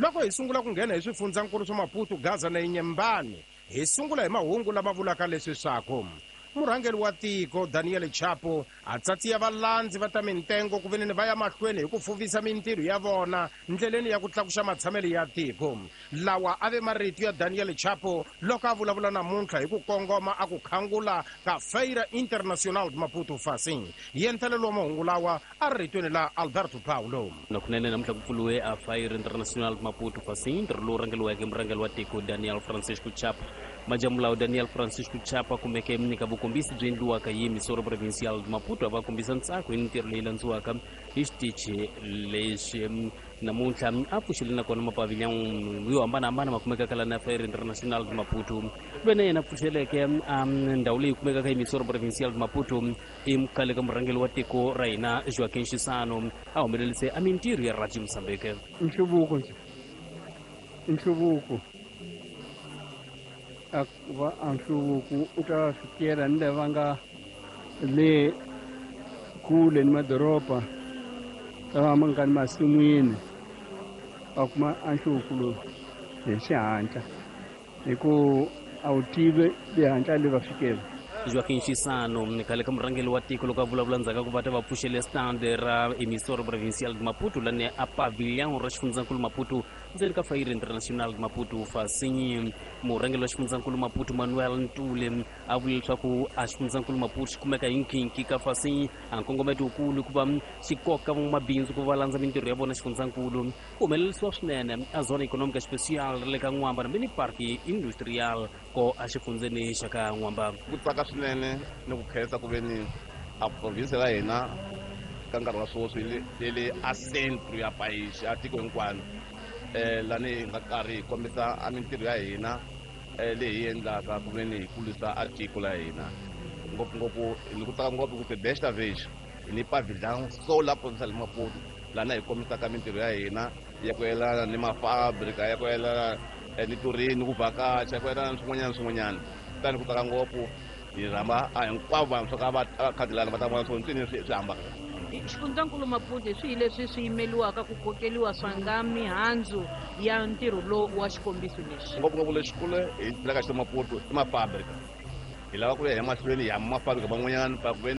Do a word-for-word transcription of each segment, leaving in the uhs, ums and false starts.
Loko hi sungula ku nghena hi swifundzankulu swa Maputo, Gaza na Inhambane, hi sungula hi mahungu lama vulaka leswi swaku murhangeri wa tiko Daniel Chapo a tsatsiya valandzi va ta mintengo ku veneni va ya mahlweni hi ku fuvisa mintirho ya vona ndleleni ya ku tlakuxa matshamelo ya tiko. Lawa a ve marito ya Daniel Chapo loko a vulavula namuntlha hi ku kongoma a ku khangula ka Feira Internacional de Maputo Facim. Yentelelo wa mahungu lawa a ri ritweni la Alberto Paulo. Nakunene namuntlha ku pfuriwe a Feira Internacional de Maputo Facim, ntirho lowu rhangeriweke murhangeri wa tiko Daniel Francisco Chapo. Majamulawu Daniel Francisco Chapo a kumeke eka vukombisi byi endliwaka hi Emissora Provincial de Maputo a va kombisa ntsako hi mintirho leyi landziwaka hi xitichi lexi. Namuntlha a pfuxile nakona mapavilhão yo hambanahambana ma kumekaka la na Feira Internacional de Maputo. Loyi na yena pfuxeleke ndhawu leyi kumekaka Emissora Provincial de Maputo i khale ka murhangeri wa tiko ra hina Joaquim Chissano, a humelerise a mintirho ya Radio Mozambique. Nhluvuko nhluvuko a va a nhluvuko u ta fikela ni lava nga le kule ni madoroba lava ma nga ni masin'wini va kuma a nhluvuko lowu hi xihatla hi ku a wu tivi le hatla le va fikela. Joaquim Chissano, khale ka murhangeri wa tiko, loko a vulavula ndzhaku ka ku va ta va pfuxele stand ra Emissora Provincial de Maputo lani a pavilhão ra xifundzankulu Maputo ndzeni ka Feira Internacional de Maputo Facim. Murhangeri wa xifundzankulu Maputo Manuel Ntule a vule leswaku a xifundzankulu Maputo xi kumeka hi nkhinkhi ka Facim, a nkongometo wukulu ku va xi koka van'wamabindzu ku va landza mintirho ya vona xifundzankulu. Ku humelerisiwa swinene a Zona Econômica Especial ra le ka N'wamba na mini Park Industrial ko a xifundzeni xa ka N'wamba. Ku tsaka swinene ni ku khensa ku ve ni a province ya hina ka nkarhi wa sweswi yi le a centro ya país a tiko hinkwano, um lani hi nga karhi hi kombisa a mintirho ya hina um leyi hi endlaka ku ve ni hi kulisa a tiko la hina. Ngopfungopfu ni ku tsaka ngopfu ku se desta vez hi ni pavilhão sola provincial de Maputo lana hi kombisaka mintirho ya hina ya ku yelana ni mafabrika, ya ku yelana ni tourisme, ku vhakacha, ya ku yelana ni swin'wanyana swin'wanyana. Kutani ku tsaka ngopfu, hi rhamba a hinkwavo vantshwa ka va khadi lana va ta vona swo ntswini swi swi hambaka. Xifundzankulu Maputo hi swihi leswi swi yimeliwaka ku kokeliwa swa nga mihandzu ya ntirho lowu wa xikombiso lexi? Ngopfungopfu lexikulu hi tlhelaka xi Maputo i mafabrika. Hi lava ku ya emahlweni hi hamba mafabrika van'wanyana pa ku veni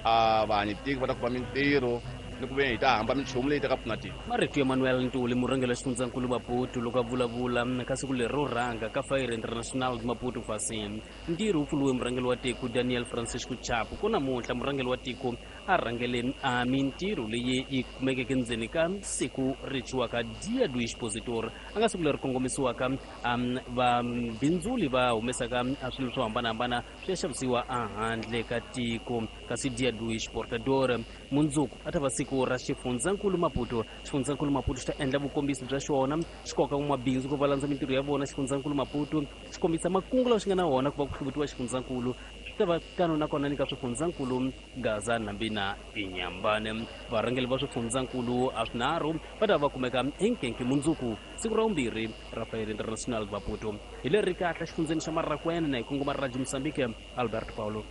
a vahanyi tiko va ta kuma mintirho ni ku ve hi ta hamba minchumu leyi ta ka pfuna tiko. Marito ya Manuel Ntuli, murhangeri wa xifundzankulu Maputo, loko a vulavula ka siku leri ro rhanga ka Feira Internacional de Maputo Facim. Ntirho wu pfuriwe murhangeri wa tiko Daniel Francisco Chapo. Ku namuntlha murhangeri wa tiko a rhangele a mintirho leyi yi kumekeke ndzeni ka siku ri thyiwaka Dia do Expositor, a nga siku leri kongomisiwaka um vabindzuli va humesaka swilo swo hambanahambana swi ya xavisiwa ehandle ka tiko, kasi Dia do Exportador mundzuku a ta va siku ra xifundzankulu Maputo. Xifundzankulu Maputo xi ta endla vukombisi bya xona, xi koka van'wamabindzu ku va landza mintirho ya vona. Xifundzankulu Maputo xi kombisa makungu lawa xi nga na wona ku va ku hluvutiwa xifundzankulu. Swi ta va tano nakona ni ka swifundzankulu Gaza nambi na Inhambane. Varhangeri va swifundzankulu a swinharhu va ta va kumeka enkenke mundzuku, siku ra vumbirhi ra Feira Internacional de Maputo. Hi leri kahle xifundzeni xa Marracuene na hi kongoma Radio Mozambique, Alberto Paulo.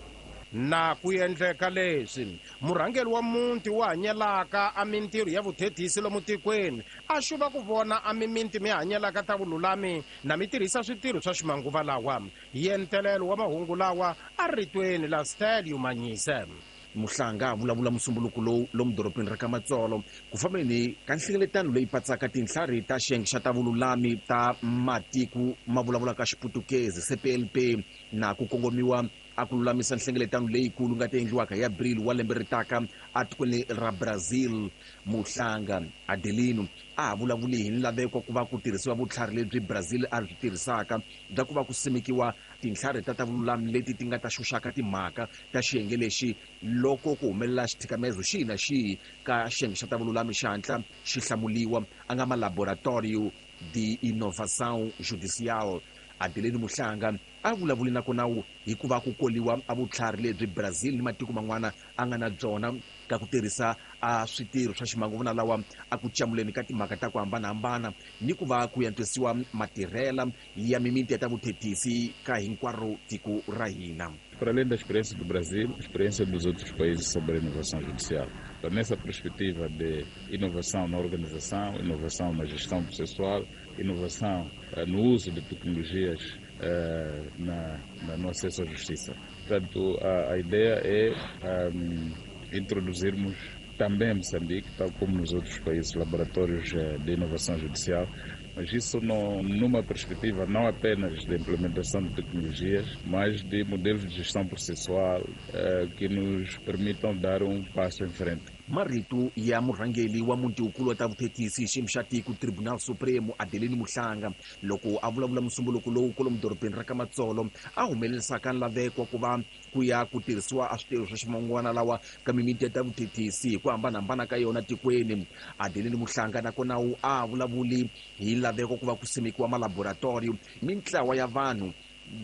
Na ku endleka leswi murhangeri wa muti wa hanyelaka a mintirho ya vuthethisi lomu tikweni a xuva ku vona a mimiti mi hanyelaka ta vululami na mi tirhisa switirho swa ximanguva lawa. Yentelelo wa mahungu lawa a ritweni la Stelio Manyise. Muhlanga a vulavula musumbuluko lowu lomu dorobeni ra ka Matsolo ku fambeni ka nhlengeletano leyi patsaka tinhlari ta xiyenge xa ta vululami ta matiko ma vulavulaka Xiputukezi, C P L P, na ku kongomiwa a ku lulamisa nhlengeletano leyikulu nga ta endliwaka hi Abril wa lembe ri taka atikweni ra Brazil. Muhlanga Adelino a ha vulavuli hi nlaveko ku va ku tirhisiwa vutlhari lebyi Brazil a byi tirhisaka bya ku va ku simekiwa tintlhari ta ta vululami leti ti nga ta xuxaka timhaka ta xiyenge lexi loko ku humelela xithikamezo xihi na xihi ka xiyenge xa ta vululami xi hatla xi hlamuliwa, a nga ma Laboratório de Inovação Judicial. Adelino Muhlanga a vulavuli nakona hikuva ku koliwa a vutlhari lebyi Brazil ni matiko man'wana a nga na byona. ka ku tirhisa a switirho swa ximanguvana lawa a ku camuleni ka timhaka ta ku hambanahambana ni ku va ku yantswisiwa matirhela ya mimiti ya ta vuthethisi ka hinkwaro tiko ra hina. Para além da experiência do Brasil, a experiência dos outros países sobre a inovação judicial. Então, nessa perspectiva de inovação na organização, inovação na gestão processual, inovação eh, no uso de tecnologias eh, na, na, no acesso à justiça. Portanto, a, a ideia é um, introduzirmos também em Moçambique, tal como nos outros países, laboratórios de inovação judicial, mas isso não, numa perspectiva não apenas de implementação de tecnologias, mas de modelos de gestão processual eh, que nos permitam dar um passo em frente. Marito ya murhangeli wa muti wukulu wa ta vuthethisi xiyimo xa tiko Tribunal Supremo Adelino Muhlanga loko a vulavula musumbuluko lowu kwalomu dorobeni ra ka Matsolo a humelerisaka nlaveko wa ku va ku ya ku tirhisiwa a switirho swa ximangwana lawa ka mimiti ya ta vuthethisi hi ku hambanahambana ka yona tikweni. Adelino Muhlanga nakona wu a vulavuli hi laveko ku va ku simekiwa malaboratoriyo mintlawa ya vanhu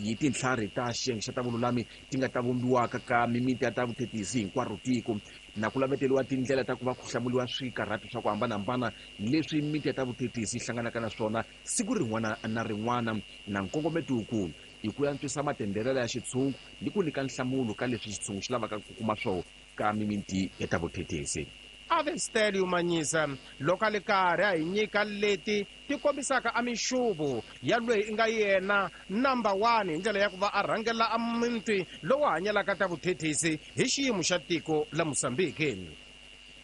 hi tintlhari ta xiyenge xa ta vululami ti nga ta vumbiwaka ka mimiti ya ta vuthethisi hinkwaro tiko na ku laveteriwa tindlela ta ku va ku hlamuriwa swikarhati swa ku hambanahambana leswi miti ya ta vuthethisi yi hlanganaka na swona siku rin'wana na rin'wana na nkongometo wukulu hi ku antswisa matenderelo ya xitshungu ni ku nyika nhlamulo ka leswi xitshungu xi lavaka ku kuma swona ka mimiti ya ta vuthethisi. Ave Stelio Manyisa loko a li karhi a hi nyika leti ti kombisaka a mixuvo ya loyi i nga yena number one hi ndlela ya ku va a rhangela a muti lowu hanyelaka ta vuthethisi hi xiyimo xa tiko la Mozambique.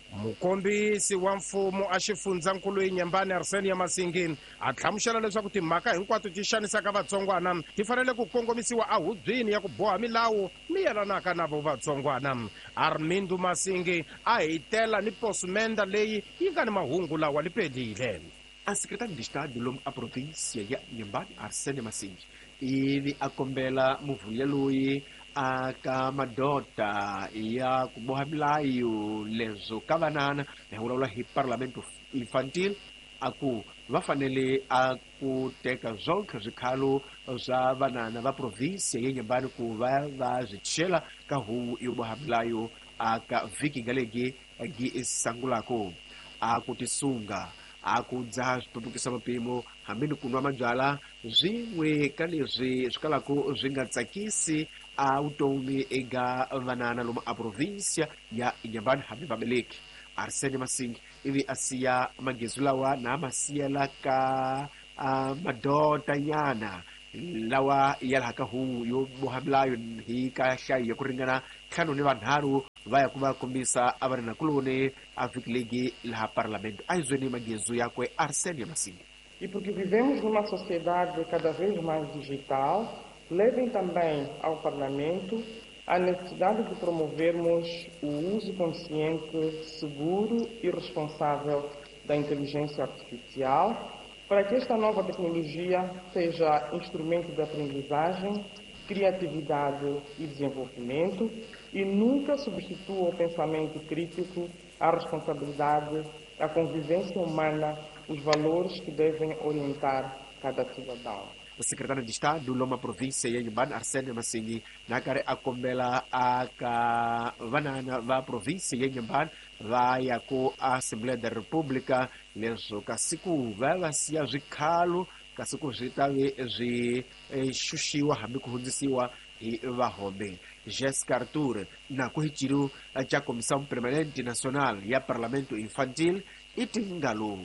Mukombisi wa mfumo a xifundzankulu Inhambane Arsenio Masingi a hlamusela leswaku timhaka hinkwato ti xanisaka vatsongwana ti fanele ku kongomisiwa ehubyeni ya ku boha milawu mi yelanaka na vo vatsongwana. Armindo Masingi a hitela ni posumenda leyi yi nga ni mahungu lawa lipelile. A secretário de Estado lomu a província ya Inhambane Arsenio Masingi ivi a kombela muvhuya loyi aka madota ya ku boha milayo leswo ka vanana na hi vulavula hi parlamento infantil a ku va fanele a ku teka zonke swikhalo swa vanana va província ya Inhambane ku va va swi chela ka huvo yo boha milayo aka vhiki nga legi gi sangulako a ku tisunga a ku dzaha switumbukisa mapimo hambi ni ku nwa mabyala swin'we ka leswi swi kalaka swi nga tsakisi a vutomi eka vanana lomu a província ya Inhambane hambi vameleki. Arsenio Masingi ivi a siya magezi lawa na ma siyela ka a madotanyana lawa ya laha ka huvo yo boha milayo hi ka nhlayo ya ku ringana ntlhanu ni vanharhu va ya ku va kombisa a va ri nakuloni a vhiki legi laha parlamento. A hi zweni magezu yakwe Arsenio Masingi. E porque vivemos numa sociedade cada vez mais digital, levem também ao Parlamento a necessidade de promovermos o uso consciente, seguro e responsável da inteligência artificial, para que esta nova tecnologia seja instrumento de aprendizagem, criatividade e desenvolvimento e nunca substitua o pensamento crítico, a responsabilidade, a convivência humana, os valores que devem orientar cada cidadão. O secretário de Estado loma província ya Inhambane Arsenio Masingi na karhi a kombela aka vanana va província ya Inhambane va ya ku Assembleia da República leswo ka siku va va siya swikhalo kasi ku swi ta ve swi xuxiwa hambi ku hundzisiwa hi vahombe. Jessica Arthur na ku hi ciru ca Comissão Permanente Nacional ya Parlamento Infantil i tingalo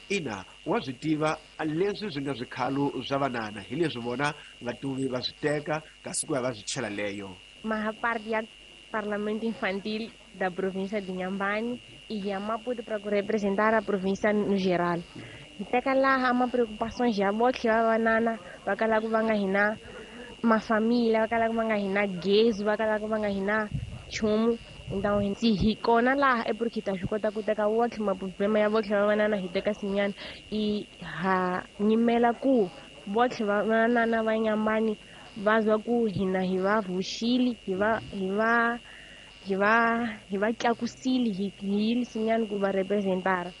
ina wa swi tiva leswi swi nga swikhalo swa vanana hi leswi vona vatuvi va swi teka kasi ku ya va swi chela leyo. Maha parte ya Parlamento Infantil da província de Inhambane e a Maputo para representar a província no geral. Hi teka laha ma preocupações ya botlhe va vanana va kalaka va nga hina mafamília, va kalaka va nga hina gezi, va kalaka va nga hina nchumu. Então se hi kona laha é porque ta swi kota ku teka wotlhe maproblema ya votlhe va vanana hi teka sinyana i ha nyimela ku votlhe va vanana va Inhambane va zwa ku hina hi va vuxili hi va hi va hi va hi va tlakusile hi hi sinyana ku va representara.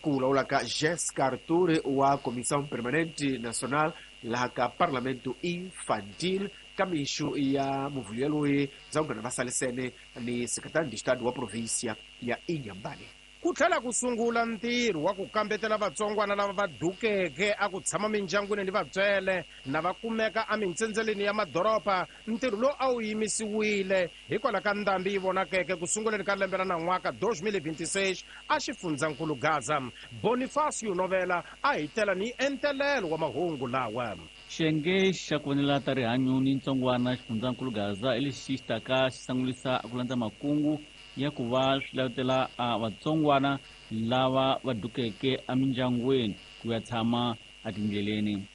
Ku vulavula ka Jessica Arthur wa Comissão Permanente Nacional laha ka Parlamento Infantil Ka mixo ya muvhulo yaloye Ndzawungana Vasalesene ni secretario de Estado wa província ya Inhambane. Ku tlhela ku sungula ntirho wa ku kambetela vatsongwana lava va dukeke a ku tshama mindyangwini ni vatswele na va kumeka emintsendzeleni ya madoroba. Ntirho lowu a wu yimisiwile hikwalaho ka ndhambi yi vonakeke ku sunguleni ka lembe ra nan'waka twenty twenty-six a xifundzankulu Gaza. Bonifacio Novela a hi tela ni entelelo wa mahungu lawa. Xiyenge xa ku vonela ta rihanyo ni ntsongwana xifundzankulu Gaza hi lexi xi taka xi sangulisa ku landza makungu ya ku va swi lavutela a vatsongwana lava va dukeke emindyangwini ku ya tshama etindleleni.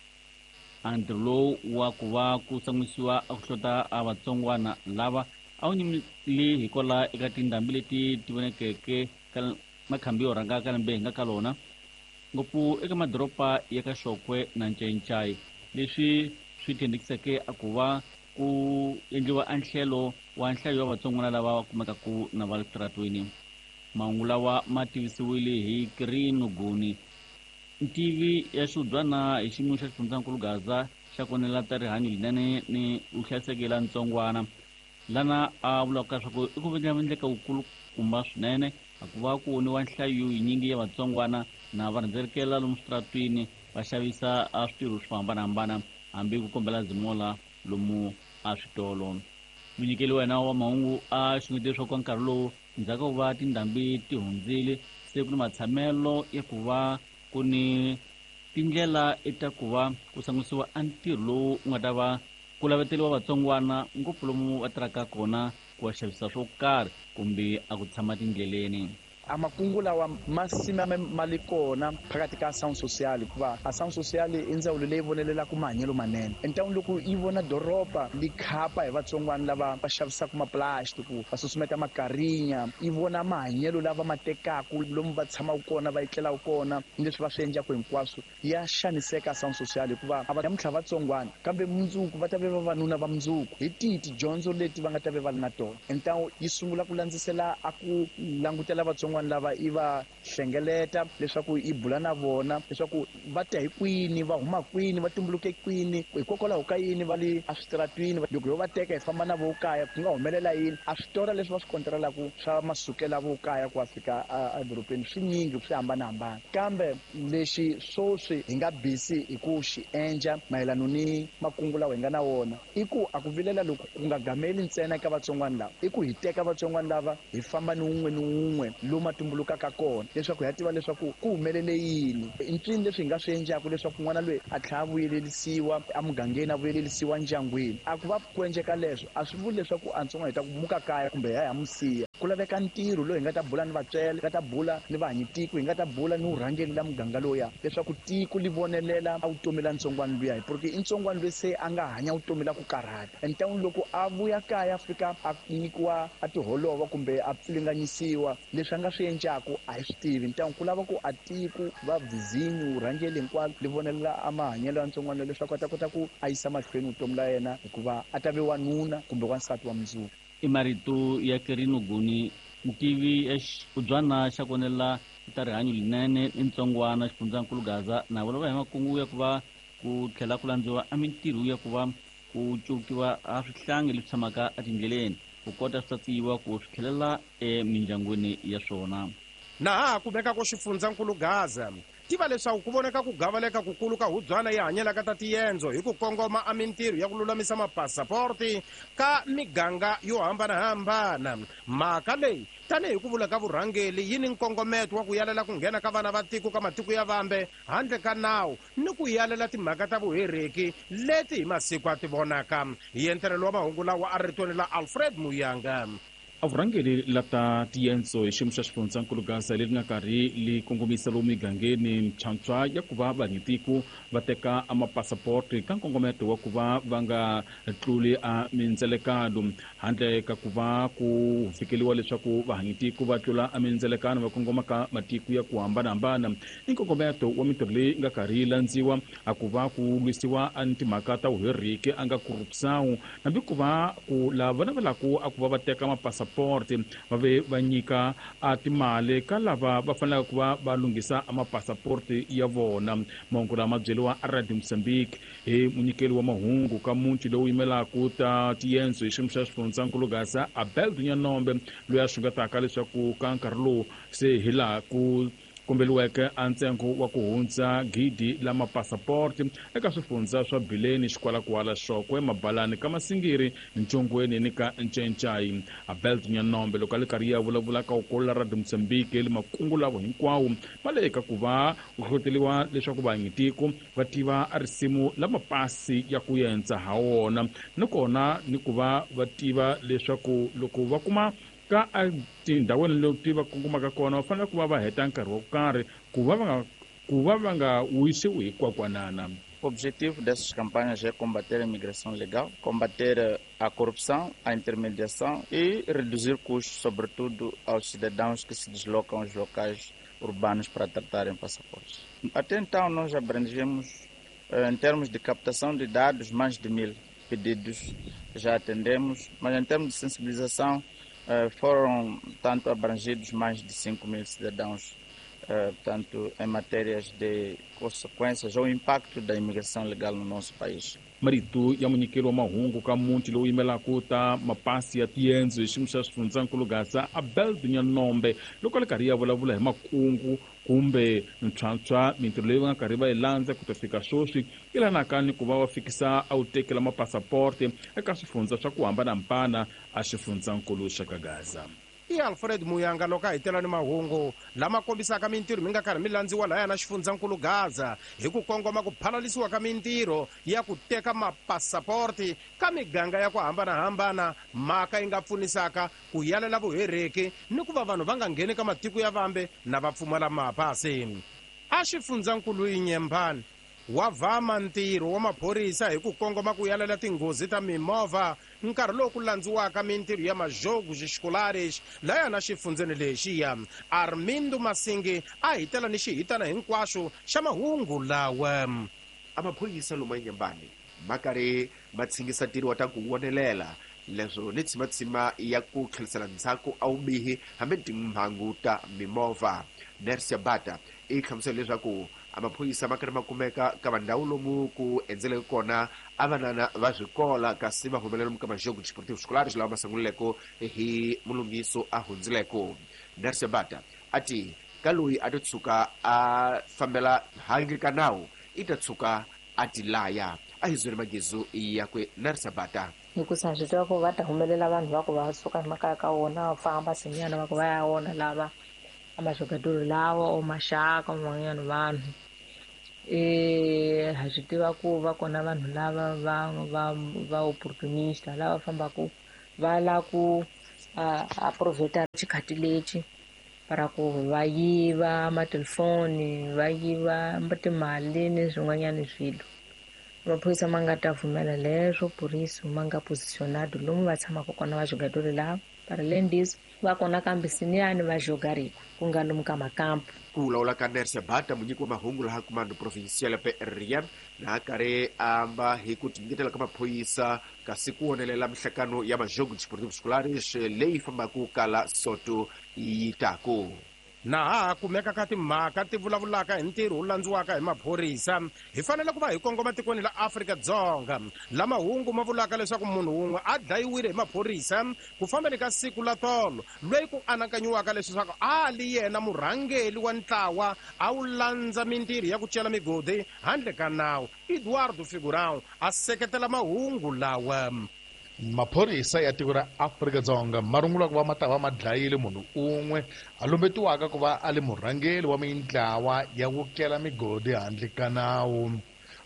A ntirho lowu wa ku va ku sangulisiwa a ku hlota a vatsongwana lava a wu nyimile hikwalaho eka tindhambi leti ti vonekeke ka makhambi yo rhanga ka lembe hi nga ka lona, ngopfu eka madoroba ya ka Xokwe na Ncencai, leswi swi thendekiseke a ku va ku endliwa anhlelo wa nhlayo wa vatsongwana lava va kumekaku na va le switaratweni. Mahungu lawa ma tivisiwile hi Kirino Guni, ntivi ya xihubyana hi xiyimo xa xifundzankulu Gaza xa ku vonela ta rihanyo linene ni vuhlayiseki la ntsongwana, lana a vulaka leswaku i ku endleka wukulukumba swinene a ku va ku voniwa nhlayo yinyingi ya vatsongwana na va rhendzelekela lomu switaratweni va xavisa a switirho swo hambanahambana hambi ku kombela zimola lomu a switolo. Munyikeli wa hina wa mahungu a xungete leswaku nkarhi lowu ndzhaku ka ku va tindhambi ti hundzile se ku ni matshamelo ya ku va ku ni tindlela ta ku va ku sangisiwa a ntirho lowu wu nga ta va ku laveteliwa vatsongwana ngopfu lomu va tirhaka kona ku va xavisa swo karhi kumbe a ku tshama tindleleni. A makungu lawa ma sima ma li kona phakathi ka ação social, hikuva ação social i ndzawulo leyi vonelelaka mahanyelo manene. Entawini loko yi vona doroba li khapa hi vatsongwana lava va xavisaka maplastiki, va susumeta makarinya, yi vona mahanyelo lava ma tekaku lomu va tshamaka kona, va etlelaka kona, ni leswi va swi endlaka hinkwaswo, ya xaniseka ação social hikuva a va namuntlha vatsongwana kambe mundzuku va ta ve vavanuna va mundzuku. Hi tihi tidyondzo leti va nga ta ve va ri na tona? Entawu yi sungula ku landzisela a ku langutela vatsongwana lava i va hlengeleta leswaku i bula na vona leswaku va ta hi kwini, va huma kwini, va tumbuluke kwini, hikokwalaho ka yini va le eswitaratwini. Loko yo va teka hi famba na vo kaya ku nga humelela yini? A switora leswi va swi kontrelaku swa masukela vo kaya ku ya fika edorobeni swi nyingi, swi hambanahambana. Kambe lexi swoswi hi nga busy hi ku xi endla mayelana ni makungu lawa hi nga na wona i ku a ku vilela loko ku nga gameli ntsena eka vatsongwana lava, i ku hi teka vatsongwana lava hi famba ni wun'we ni wun'we lomu tumbulukaka kona leswaku hi ya tiva leswaku ku humelele yini, i ncini leswi hi nga swi endlaka leswaku n'wana loyi a tlhela a vuyelelisiwa emugangeni, a vuyelelisiwa ndyangwini. A ku va ku endleka leswo a swi vuli leswaku a ntsongwana hi ta ku muka kaya kumbe hi ya hi ya mu siya. Ku laveka ntirho lowu hi nga ta bula ni vatswele, hi nga ta bula ni vahanyitiko, hi nga ta bula ni vurhangeri la muganga lowuya leswaku tiko li vonelela a vutomi la ntsongwana luya, porque i ntsongwana loyi se a nga hanya vutomi la ku karhata. Entawini loko a vuya kaya a fika a nyikiwa a tiholova kumbe a pfilinganyisiwa, leswi a nga swi endlaku a hi swi tivi. Ntangu ku lava ku a tiko va vizinyu vurhangeri hinkwalo li vonelela a mahanyelo ya ntsongwana leswaku a ta kota ku a yisa mahlweni vutomi la yena, hikuva a ta ve wanuna kumbe wansati wa mundzuku. I marito ya Kirino Guni, ntivi ya xihubyana xa ku vonela ta rihanyo linene ni ntsongwana xifundzankulu Gaza, na vulavula hi makungu ya ku va ku tlhela ku landziwa a mintirho ya ku va ku cukiwa a swihlangi leswi tshamaka etindleleni ku kota swi tsatsiwa ku swi tlhelela emindyangwini ya swona. Na ha kumeka ku xifundzankulu Gaza tiva leswaku ku voneka ku gavaleka kukulu ka hubyana yi hanyelaka ta tiendzo hi ku kongoma a mintirho ya ku lulamisa mapasaporti ka miganga yo hambanahambana. Mhaka leyi tanihi ku vula ka vurhangeli yi ni nkongometo wa ku yalela ku nghena ka vana va tiko ka matiko ya vambe handle ka nawu ni ku yalela timhaka ta vuhereki leti hi masiku a ti vonaka. Hi entirhelo wa mahungu lawa a ritweni la Alfred Muyanga. A vurhangeri la ta tiendzo hi xiyimo xa xifundzankulu Gaza leri nga karhi li kongomisa lomu migangeni ntshwantswa ya ku va vanyitiko va teka a mapasaporti ka nkongometo wa ku va va nga tluli a mindzelekano handle ka ku va ku fikeliwa leswaku vahanyitiko va tlula a mindzelekano va kongoma ka matiko ya ku hambanahambana. I nkongometo wa mintirho leyi nga karhi yi landziwa a ku va ku lwisiwa a timhaka ta vuheriki a nga corruption hambi ku va ku lava navelaka a ku va va teka mapasa mapassaporti va ve va nyika a timali ka lava va fanelaka ku va va lunghisa mapassaporti ya vona. Mahungu lama byeriwa a Radio Mozambique hi munyikeli wa mahungu ka muti lowu yimelaka ta tiyendzo hi xiyimo xa xifundzankulu Gaza Abel Dunyanombe loyi a xungetaka leswaku ka nkarhi lowu se hi laha ku kombeliweke a ntsengo wa ku hundza gidi la mapassaporti eka swifundza swa Bileni, Xikwalakwala, Xokwe, Mabalani ka Masingiri, Ntshongweni ni ka Ncencai. Abel Dunyanombe loko a le karhi ya vulavula ka ukolo la Radio Mozambique le makungu lavo hinkwawo ma le eka ku va ku hlohloteliwa leswaku vanyitiko va tiva a risimu la mapasi ya ku yendza ha wona ni kona ni ku va va tiva leswaku loko va kuma ka tindhawini leti va kongomaka kona va fanele ku va va heta nkarhi wo karhi ku va va nga ku va va nga wisiwi hi kwakwanana. O objetivo dessas campanhas é combater a imigração legal, combater a corrupção, a intermediação e reduzir custos, sobretudo aos cidadãos que se deslocam aos locais urbanos para tratarem passaportes. Até então, nós abrangemos, em termos de captação de dados, mais de mil pedidos já atendemos, mas em termos de sensibilização, foram tanto abrangidos mais de cinco mil cidadãos, tanto em matérias de consequências ou impacto da imigração legal no nosso país. Marito ya munyikeli wa mahungu ka muti lowu yimelaka ta mapasi ya tiyendzo hi xiyimo xa xifundzankulu Gaza Abel Dunyanombe loko a le karhi ya vulavula hi makungu kumbe ntshwantshwa mintirho leyi va nga karhi va yi landza ku ta fika sweswi yi lanaka ni ku va va fikisa a wu tekela mapassaporti eka swifundza swa ku hambanahambana a xifundzankulu xa ka Gaza. I Alfred Muyanga loko a hitela ni mahungu lama kombisaka mintirho mi nga karhi mi landziwa lahaya na xifundzankulu Gaza hi ku kongoma ku phalalisiwa ka mintirho ya ku teka mapassaporti ka miganga ya ku hambanahambana, mhaka yi nga pfunisaka ku yalela vuhereki ni ku va vanhu va nga ngheni ka matiko ya vambe na va pfumala mapasi. A xifundzankulu Inyembani wa vama ntirho wa maphorisa hi ku kongoma ku yalela tinghozi ta mimovha nkarhi lowu ku landziwaka mintirho ya majogos escolares laya na xifundzeni lexiya. Armindo Masingi a hitela ni xihitana hinkwaxo xa mahungu lawa. A maphorisa lomu Inyembani ma karhi ma tshingisa ntirho wa ta ku vonelela leswo ni tshimatsima ya ku tlherisela ndzhaku a wubihi hambi timhangu ta mimovha. Nersia Bata i hlamusela leswaku amaphorisa ma karhi ma kumeka ka vandhawu lomu ku endzeleke kona a vanana va swikola kasi va humelela lomu ka majogo desportivo escolares lawa ma sungulileko hi mulunghiso a hundzileko. Nersia Bata a ti ka loyi a to tshuka a fambela handle ka nawu i ta tshuka a ti laya. A hi zweli magezu yakwe Nersia Bata. Hikusa swi tiva ku va ta humelela vanhu va ku va suka emakaya ka wona va famba sinyana va ku va ya wona lava amajogadoro lawa o maxaka van'wanyana vanhu eh ha swi tiva ku va kona vanhu lava va va va opportunista lava fambaka va la ku a proveta xikhati lexi para ku va yiva matelefoni va yiva timali ni swin'wanyana swilo. Maphorisa ma nga ta pfumela leswo purisi ma nga positionado lomu va tshamaka kona va jogadoro lava para lendis va kona kambe siniyani va jogariko ku nga lomu ka makampu. Ku vulavula ka Nersia Bata munyiki wa mahungu laha Comando Provincial P R M na karhi amba hi ku tinyiketela ka maphorisa kasi ku vonelela mihlakano ya majogo desportivo escolares leyi fambaka kala Soto yi taku. Na ha kumeka ka timhaka ti vulavulaka hi ntirho wu landziwaka hi maphorisa hi fanele ku va hi kongoma tikweni la Afrika-Dzonga lama hungu ma vulaka leswaku munhu wun'we a dlayiwile hi maphorisa ku fambeni ka siku la tolo loyi ku anakanyiwaka leswaku a li yena murhangeli wa ntlawa a wu landza mintirho ya ku cela migodi handle ka nawu. Eduardo Figurão a seketela mahungu lawa. Maphorisa ya tiko ra Afrika-Dzonga ma rungula ku va ma ta va ma dlayile munhu un'we a lumbetiwaka ku va a li murhangeri wa mintlawa ya ku kela migodi handle ka nawu.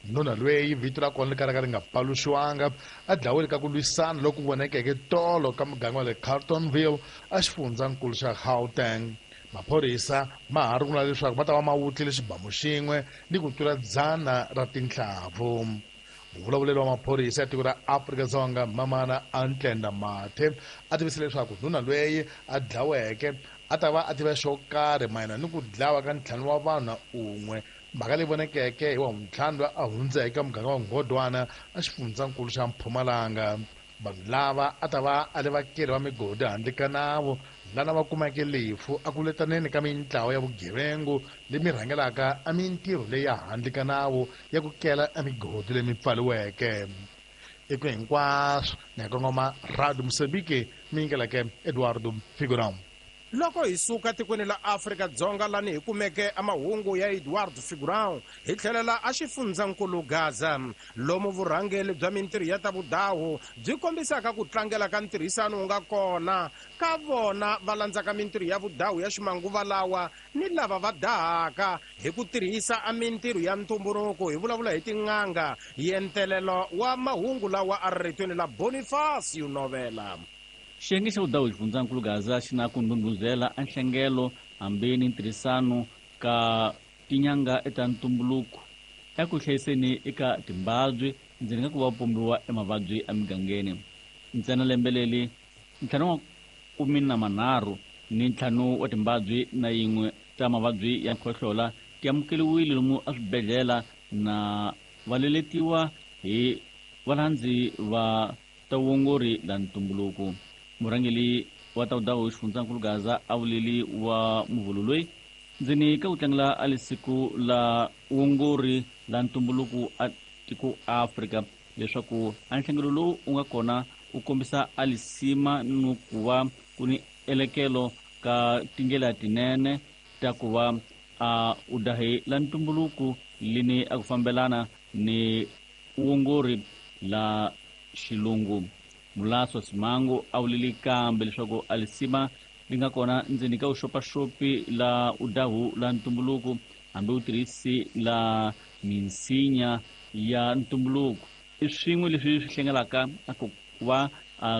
Nuna loyi vito ra kona ri kalaka ri nga paluxiwanga a dlawile ka ku lwisana loku vonekeke tolo ka muganga wa le Carltonville a xifundzankulu xa Gauteng. Maphorisa ma ha rungula leswaku va ta va ma wutlile xibamu xin'we ni ku tlula dzana ra tinhlavu. Muvulavuleri wa maphorisa ya tiko ra Afrika-Dzonga Mamana Antlenda Mathe a tivise leswaku nuna loyi a dlaweke a ta va a tiva xo karhi mayelana ni ku dlawa ka ntlhanu wa vanhu na un'we, mhaka leyi vonekeke hi wa ntlhanu loyi a hundzeke ka muganga wa Ngodwana a xifundzankulu xa Mpumalanga. Vanhu lava a ta va a le vakeri va migodi handle ka nawu lana va kumeke lefu a ku letaneni ka mintlawa ya vugevengu lemi rhangelaka a mintirho leyi ya handle ka nawu ya ku kela a migodi lemi pfaliweke. Eku hinkwaswo ni kongoma Radio Mozambique mi yingeleke Eduardo Figurão. Loko hi suka tikweni la Afrika-Dzonga lani hi kumeke amahungu ya Eduardo Figurão, hi tlhelela a xifundzankulu Gaza, lomu vurhangeri bya mintirho ya ta vudahu byi kombisaka ku tlangela ka ntirhisano wu nga kona ka vona va landzaka mintirho ya vudahu ya ximanguva lawa ni lava va dahaka hi ku tirhisa a mintirho ya ntumbuluko. Hi vulavula hi tin'anga. Yentelelo wa mahungu lawa a ri ritweni la Bonifacio Novela. Xiyenge xa vudahu xifundzankulu Gaza xi na ku ndhundhuzela a nhlengelo hambi ni ntirhisano ka tinyanga eta ntumbuluko eku hlayiseni eka timbabyi ndzeni ka ku va pombiwa emavabyi emigangeni. Ntsena lembe leri ntlhanu wa kumi na manharhu ni ntlhanu wa timbabyi na yin'we ta mavabyi ya khohlola ti amukeriwile lomu eswibedhlele na va leletiwa hi valandzi va ta vuongori la ntumbuluko. Murhangeri wa ta vudahu xifundzankulu Gaza a vuleli wa muvhulu loyi ndzeni ka ku tlangela a lisiku la vuongori la ntumbuluko a tiko Afrika leswaku a nhlengelo lowu wu nga kona wu kombisa a lisima ni ku va ku ni elekelo ka tindlela tinene ta ku va a udahi la ntumbuluko lini a ku fambelana ni vuongori la xilungu. Mulaso Simango a vuleli kambe leswaku a lisima li nga kona ndzeni ka vuxopaxopi la udahu la ntumbuluko hambi wu tirhisi la minsinya ya ntumbuluko i swin'we leswi swi hlengelaka a ku va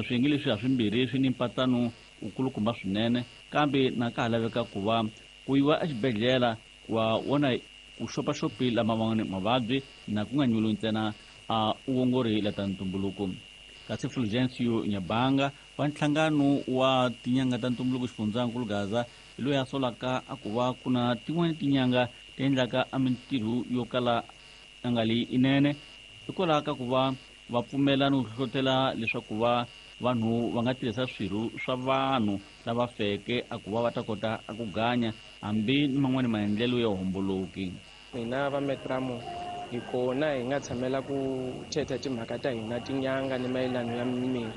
swiyenge leswi ha swimbirhi swi ni mpatano wukulukumba swinene, kambe na ka ha laveka ku va ku yiwa exibedhlele wa wona vuxopaxopi lama man'wani mavabyi na ku nga nyuliwi ntsena a vuongori la ta ntumbuluko. Kasi Fulgencio Nyabanga wa nhlangano wa tinyanga ta ntumbuluko xifundzankulu Gaza hi loyi a solaka a ku va ku na tin'wani tinyanga ti endlaka a mintirho yo kala a nga li inene hikwalaho ka ku va va pfumela ni ku hlohlotela leswaku va vanhu va nga tirhisa swirho swa vanhu lava feke a ku va va ta kota a ku ganya hambi ni man'wani maendlelo ya homboloki. Hina va Metramo hi kona hi nga tshamela ku thetha timhaka ta hina tinyanga ni mayelano ya mimiri,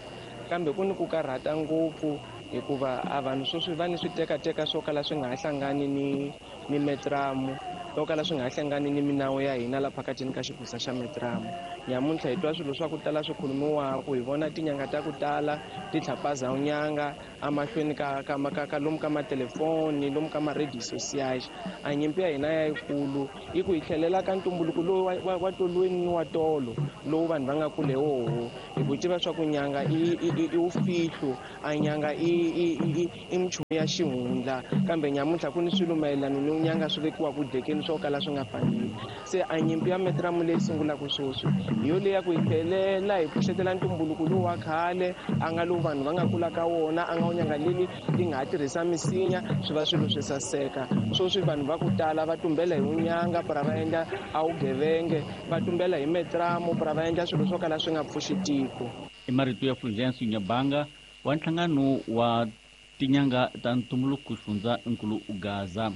kambe ku ni ku karhata ngopfu hikuva a vanhu sweswi va ni switekateka swo kala swi nga ha hlangani ni ni Metramo, swo kala swi nga ha hlangani ni minawu ya hina la phakatini ka xigusa xa Metramo. Nyamuntlha hi twa swilo swa ku tala swi khulumiwaka, hi vona tinyanga ta ku tala ti tlhapaza nyanga emahlweni ka ka ka ka lomu ka matelefoni, lomu ka ma-radio social. A nyimpi ya hina ya yikulu i ku hi tlhelela ka ntumbuluko lowu wa wa tolweni wa tolo lowu vanhu va nga kule woho, hi ku tiva swa ku nyanga i i i wufihlo, a nyanga i i i i minchumu ya xihundla, kambe nyamuntlha ku ni swilo mayelana ni nyanga swi vekiwaka dekeni swo kala swi nga faneli. Se a nyimpi ya Metramo leyi sungulaka sweswi hi yo leyi ya ku hi tlhelela hi pfuxetela ntumbuluko lowu wa khale a nga lowu vanhu va nga kula ka wona, a nga wu nyanga leli ti nga ha tirhisa misinya swi va swilo swi saseka. Sweswi vanhu va ku tala va tumbela hi vunyanga para va endla a vugevenge, va tumbela hi Metramo para va endla swilo swo kala swi nga pfuxi tiko. I marito ya Fulgencio Nyabanga wa nhlangano wa tinyanga ta ntumbuluko xifundzankulu Gaza.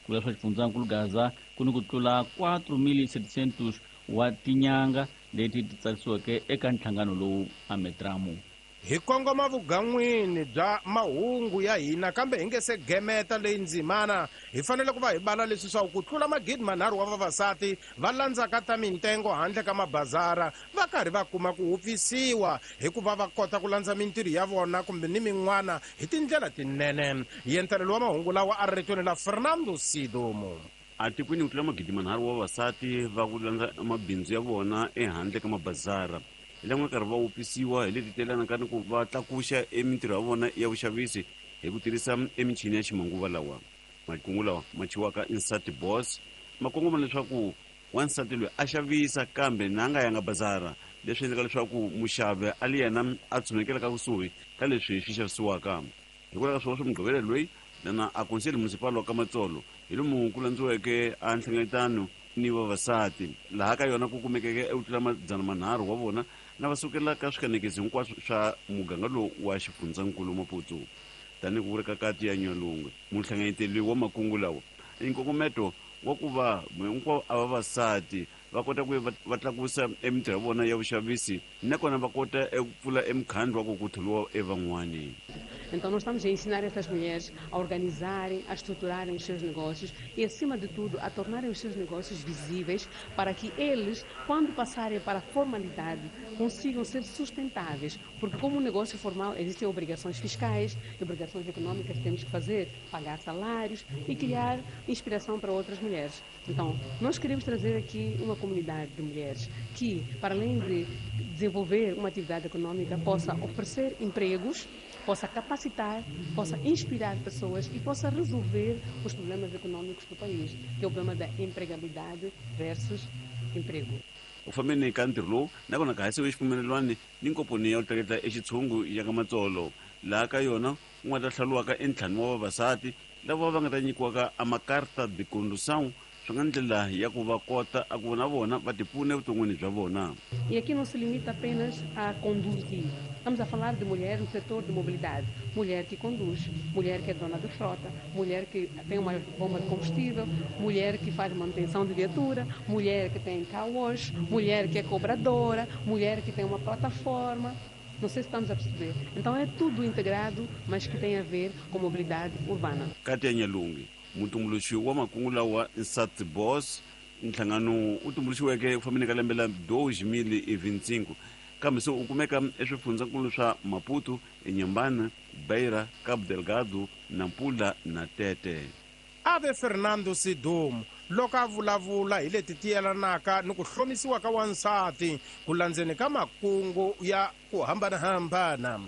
Ku vula swa xifundzankulu Gaza ku ni ku tlula quatro mil setecentos wa tinyanga leti ti tsarisiweke eka nhlangano lowu a Metramo. Hi kongoma vugan'wini bya mahungu ya hina, kambe hi nge se gemeta leyi ndzimana hi fanele ku va hi bala leswi swa ku tlula magidi manharhu wa vavasati va landzaka ta mintengo handle ka mabazara va karhi va kuma ku hupfisiwa hikuva va kota ku landza mintirho ya vona kumbe ni min'wana hi tindlela tinene. Yentelelo wa mahungu lawa a ri ritweni la Fernando Sidomo. Atikweni ku tlula magidi manharhu wa vavasati va ku landza mabindzu ya vona ehandle ka mabazara hi lama nga karhi va wupisiwa hi leti telanaka ni ku va tlakuxa emintirho ya vona ya vuxavisi hi ku tirhisa emichini ya ximanguva lawa. Makungu lawa ma chiwaka Insati Boss ma kongoma leswaku wansati loyi a xavisa kambe na nga yanga bazara, leswi endlaka leswaku muxavi a li yena a tshunekelaka kusuhi ka leswi swi xavisiwaka. Hikwalaho ka swona swa Mugqivela loyi lana a Conselho Municipal wa ka Matsolo hi lomu ku landziweke a nhlengeletano ni vavasati laha ka yona ku kumekeke eku tlula madzana manharhu wa vona na va sukelaka swikanekisi hinkwaswo swa muganga lowu wa xifundzankulu Maputo tanihi ku vurika kati ya Nyalungwe muhlanganyeteli wa makungu lawa i nkongometo wa ku va hinkwavo a vavasati va kota ku va tlakusa emintirho ya vona ya vuxavisi nakona va kota eku pfula emukhandlu wa ku ku tholiwa evan'wani. Então, nós estamos a ensinar estas mulheres a organizarem, a estruturarem os seus negócios e, acima de tudo, a tornarem os seus negócios visíveis para que eles, quando passarem para a formalidade, consigam ser sustentáveis. Porque, como um negócio formal, existem obrigações fiscais, obrigações econômicas que temos que fazer, pagar salários e criar inspiração para outras mulheres. Então, nós queremos trazer aqui uma comunidade de mulheres que, para além de desenvolver uma atividade econômica, possa oferecer empregos, possa capacitar, possa inspirar pessoas e possa resolver os problemas econômicos do país, que é o problema da empregabilidade versus emprego. U fambeni ka ntirho lowu nakona ka hasiwe xipfumelelwani ni nkomponi ya ku tleketla exitshungu ya ka Matsolo laha ka yona ku nga ta hlawuriwaka entlhanu wa vavasati lava va nga ta nyikiwaka a makarta de condução swi nga ndlela ya ku va kota a ku na vona va tipfuna evuton'wini bya vona. E aqui não se limita apenas a conduzir. Estamos a falar de mulher no setor de mobilidade. Mulher que conduz, mulher que é dona de frota, mulher que tem uma bomba de combustível, mulher que faz manutenção de viatura, mulher que tem car wash, mulher que é cobradora, mulher que tem uma plataforma. Não sei se estamos a perceber. Então é tudo integrado, mas que tem a ver com mobilidade urbana. Katia Nyalungi, mutumbuluxi wa makungu lawa Nsati Boss, nhlangano wu tumbuluxiweke ku fambeni ka lembe la dois mil e vinte e cinco kambe se u kumeka eswifundzankulu swa Maputo, Inhambane, Beira, Cabo Delgado, Nampula na Tete. Ave Fernando Sidum loko a vulavula hi leti ti yelanaka ni ku hlomisiwa ka wansati ku landzeni ka makungu ya ku hambanahambana.